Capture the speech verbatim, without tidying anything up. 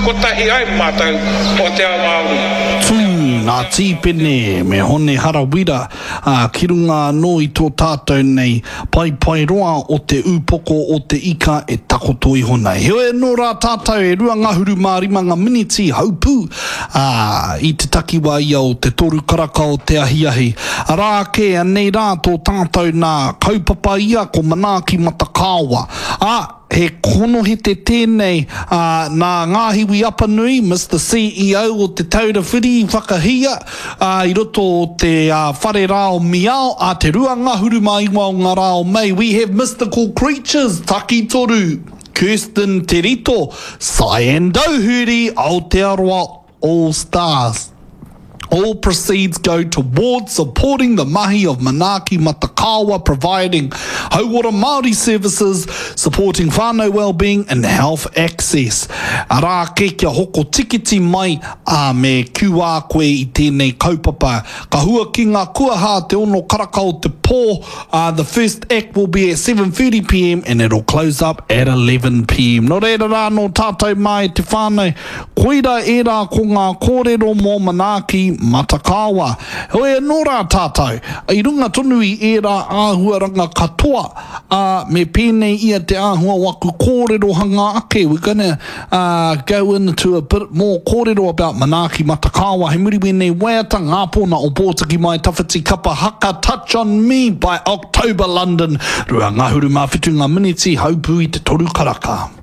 Kotahi ai mātou o te ao Māori. Tū ngā tīpene me Hone Harawira, ā, ki runga anō i tō tātou nei paepaeroa o te ūpoko o te ika e takoto iho nei. Heoi anō rā tātou e rua ngahuru mā rima ngā miniti haupū, ā, i te takiwā ia o te toru karaka o te ahiahi. Arā ake, anei rā tō tātou nā kaupapa ia ko Manaaki Matakāoa. Ā, he konohete tēnei, ā, nā Ngāhiwi Apanui, Mister C E O o Te Taura Whiri i whakahia, ā, i roto o te ā, whare rā o Miao, ā te rua ngahuru mā iwa o ngā rā o Mei. We have mystical creatures, Takitoru, Kirsten Te Rito, Cyan Doherty, Aotearoa All Stars. All proceeds go towards supporting the mahi of Manaaki Matakāoa, providing hauora Māori services, supporting whānau wellbeing and health access. Arā ake kia hoko tikiti mai, ā, me Q R koe i tēnei kaupapa. Ka hua ki ngā kuaha te ono karaka o te pō. Uh, the first act will be at seven thirty p m and it'll close up at eleven p m. Nō reira rā nō tātou mai te whānau, koira ērā ko ngā kōrero mō Manaaki Matakāoa. Heoi anō rā tātou, i runga tonu i ērā āhuaranga katoa, ā, me pēnei ia te āhua o aku kōrerohanga ake. We're gonna uh, go into a bit more kōrero about Manaaki Matakāoa. Hei muri wēnei waiata, Ngā Pōna o Pōtiki Mai Tawhiti Kapa Haka, Touch on Me by October London. Rua ngahuru mā whitu ngā miniti, haupū i te toru karaka.